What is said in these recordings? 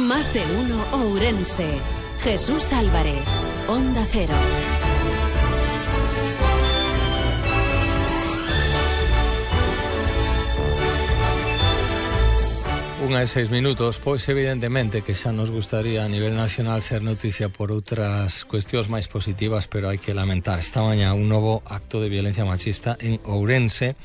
Más de uno Ourense. Jesús Álvarez, Onda Cero. 1:06, pois evidentemente que xa nos gustaría a nivel nacional ser noticia por outras cuestións máis positivas, pero hai que lamentar esta mañá un novo acto de violencia machista en Ourense.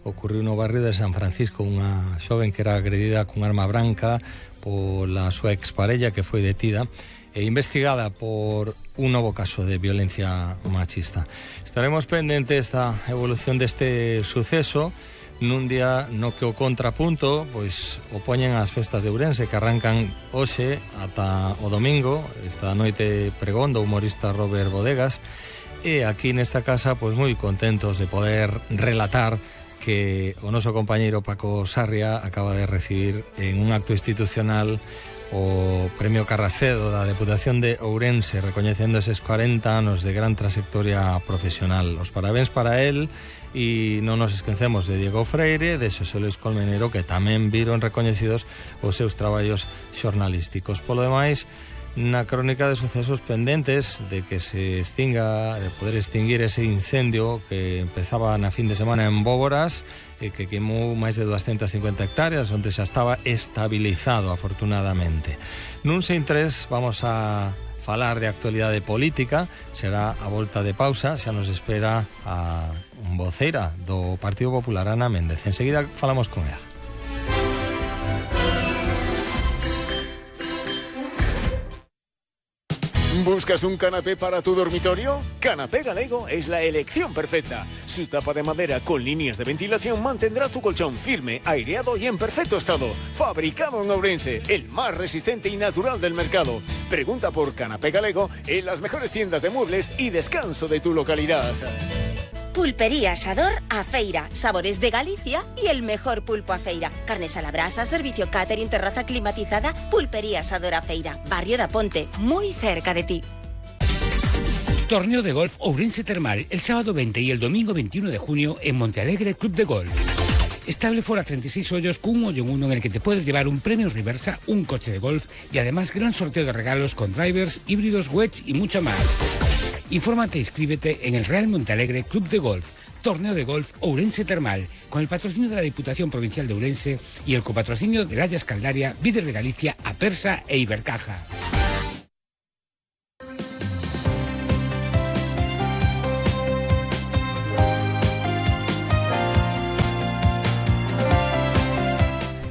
Ocorreu no barrio de San Francisco, unha xoven que era agredida con arma branca pola súa exparella, que foi detida e investigada por un novo caso de violencia machista. Estaremos pendentes da evolución deste suceso nun día no que o contrapunto pois opoñen as festas de Ourense, que arrancan hoxe ata o domingo. Esta noite pregón do humorista Robert Bodegas, e aquí nesta casa pois moi contentos de poder relatar que o noso compañeiro Paco Sarria acaba de recibir en un acto institucional o Premio Carracedo da Deputación de Ourense, recoñecendo eses 40 anos de gran trayectoria profesional. Os parabéns para él. E non nos esquecemos de Diego Freire, de Xosé Luis Colmenero, que tamén viron recoñecidos os seus traballos xornalísticos. Polo demais, na crónica de sucesos pendentes de que se extinga, de poder extinguir ese incendio que empezaba na fin de semana en Bóvoras e que queimou máis de 250 hectáreas, onde xa estaba estabilizado, afortunadamente. Nun Sen Tres vamos a falar de actualidade política. Será a volta de pausa, xa nos espera a voceira do Partido Popular, Ana Méndez. Enseguida falamos con ela. ¿Buscas un canapé para tu dormitorio? Canapé Galego es la elección perfecta. Su tapa de madera con líneas de ventilación mantendrá tu colchón firme, aireado y en perfecto estado. Fabricado en Ourense, el más resistente y natural del mercado. Pregunta por Canapé Galego en las mejores tiendas de muebles y descanso de tu localidad. Pulpería Asador A Feira, sabores de Galicia y el mejor pulpo a feira. Carnes a la brasa, servicio catering, terraza climatizada. Pulpería Asador A Feira, Barrio da Ponte, muy cerca de ti. Torneo de golf Ourense Termal, el sábado 20 y el domingo 21 de junio en Montealegre Club de Golf. Estable fora 36 hoyos con un hoyo en uno en el que te puedes llevar un premio reversa, un coche de golf y además gran sorteo de regalos con drivers, híbridos, wedge y mucho más. Infórmate e inscríbete en el Real Montealegre Club de Golf, Torneo de Golf Ourense Termal, con el patrocinio de la Diputación Provincial de Ourense y el copatrocinio de Layas Caldaria, Víder de Galicia, Apersa e Ibercaja.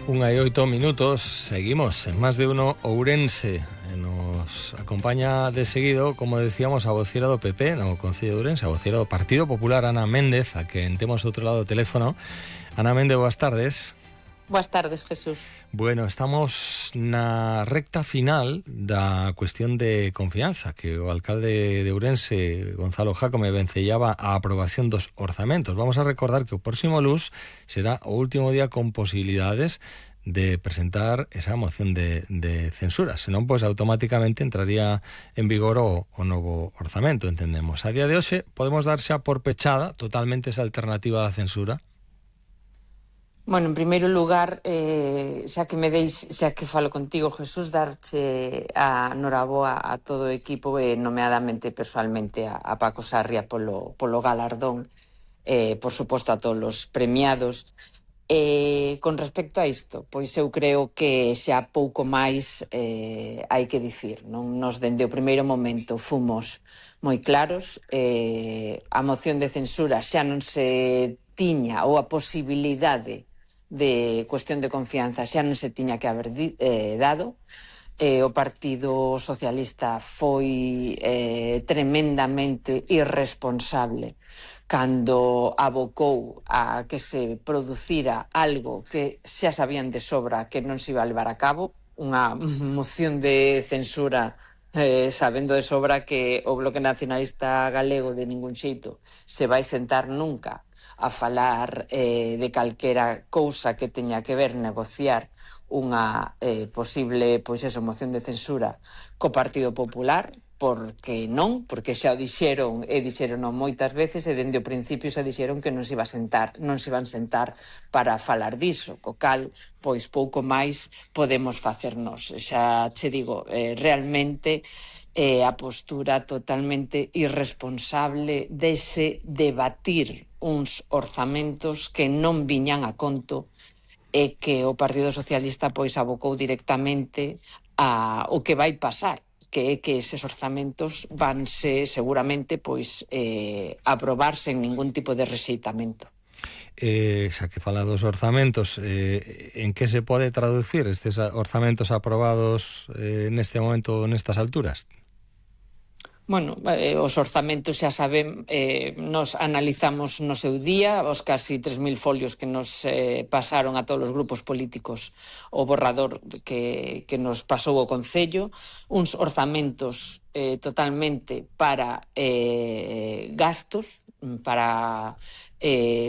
Unha e 8 minutos, seguimos en Más de uno Ourense. Nos acompaña de seguido, como decíamos, a voceira do PP no Concello de Ourense, a voceira do Partido Popular, Ana Méndez, a que temos outro lado do teléfono. Ana Méndez, boas tardes. Boas tardes, Jesús. Bueno, estamos na recta final da cuestión de confianza, que o alcalde de Ourense, Gonzalo Jácome, vencellaba a aprobación dos orzamentos. Vamos a recordar que o próximo luns será o último día con posibilidades de presentar esa moción de censura, senón pois automáticamente entraría en vigor o novo orzamento, entendemos. A día de hoxe podemos dar xa por pechada totalmente esa alternativa da censura? Bueno, en primeiro lugar, xa que falo contigo, Jesús, darche a noraboa a todo o equipo e nomeadamente persoalmente a Paco Sarria polo galardón, por suposto a todos os premiados. Con respecto a isto, pois eu creo que xa pouco máis hai que dicir, non? Nos dende o primeiro momento fomos moi claros, a moción de censura xa non se tiña, ou a posibilidade de cuestión de confianza xa non se tiña que haber dado. O Partido Socialista foi tremendamente irresponsable cando abocou a que se producira algo que xa sabían de sobra que non se iba a levar a cabo, unha moción de censura sabendo de sobra que o Bloque Nacionalista Galego de ningún xeito se vai sentar nunca a falar de calquera cousa que teña que ver negociar unha posible moción de censura co Partido Popular, porque non, porque xa o dixeron e dixeron moitas veces e dende o principio xa dixeron que non se iban sentar para falar diso, co cal pois pouco máis podemos facernos. Xa che digo, realmente a postura totalmente irresponsable dese debatir uns orzamentos que non viñan a conto e que o Partido Socialista pois abocou directamente a o que vai pasar, que é que eses orzamentos vanse seguramente pois aprobar sen ningún tipo de rexeitamento. Xa que fala dos orzamentos, en que se pode traducir estes orzamentos aprobados neste momento, nestas alturas? Bueno, os orzamentos xa saben, nos analizamos no seu día os casi 3.000 folios que nos pasaron a todos os grupos políticos o borrador que nos pasou o Concello, uns orzamentos totalmente para gastos,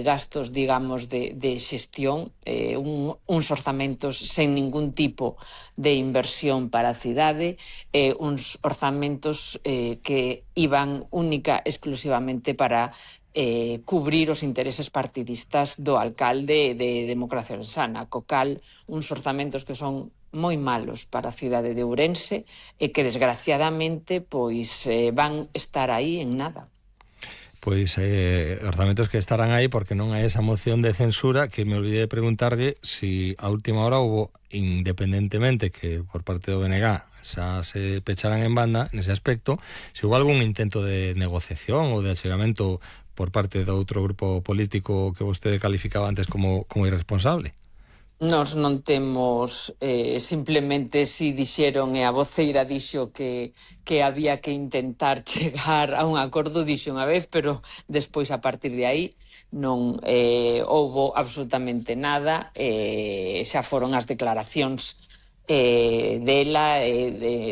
gastos, digamos, de xestión, uns orzamentos sen ningún tipo de inversión para a cidade, uns orzamentos que iban única exclusivamente para cubrir os intereses partidistas do alcalde de Democracia Ourensana, co cal uns orzamentos que son moi malos para a cidade de Ourense e que desgraciadamente pois van estar aí en nada. Pois orzamentos que estarán aí porque non hai esa moción de censura, que me olvidei de preguntarlle si a última hora hubo, independentemente que por parte do BNG xa se pecharan en banda nese aspecto, se hubo algún intento de negociación ou de achegamento por parte do outro grupo político que vostede calificaba antes como irresponsable. Nos non temos, simplemente si dixeron e a voceira dixo que había que intentar chegar a un acordo, dixo unha vez, pero despois a partir de aí non houbo absolutamente nada, xa foron as declaracións dela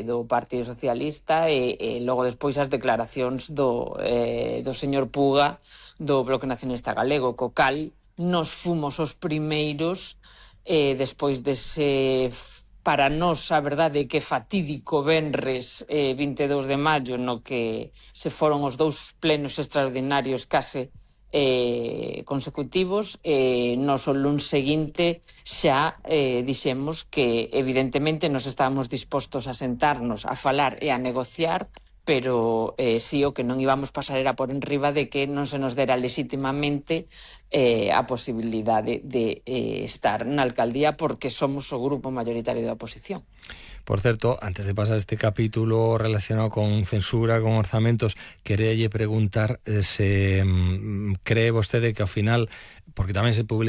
do Partido Socialista e logo despois as declaracións do señor Puga do Bloque Nacionalista Galego, co cal nos fomos os primeiros despois dese, para nós, a verdade, que fatídico venres 22 de maio, no que se foron os 2 plenos extraordinarios case consecutivos, nos o luns seguinte xa dixemos que evidentemente nos estábamos dispostos a sentarnos, a falar e a negociar, pero si o que non íbamos pasar era por enriba de que non se nos dera legítimamente a posibilidade de estar na alcaldía porque somos o grupo mayoritario da oposición. Por certo, antes de pasar este capítulo relacionado con censura, con orzamentos, queréalle preguntar se cree vostede que ao final, porque tamén se publica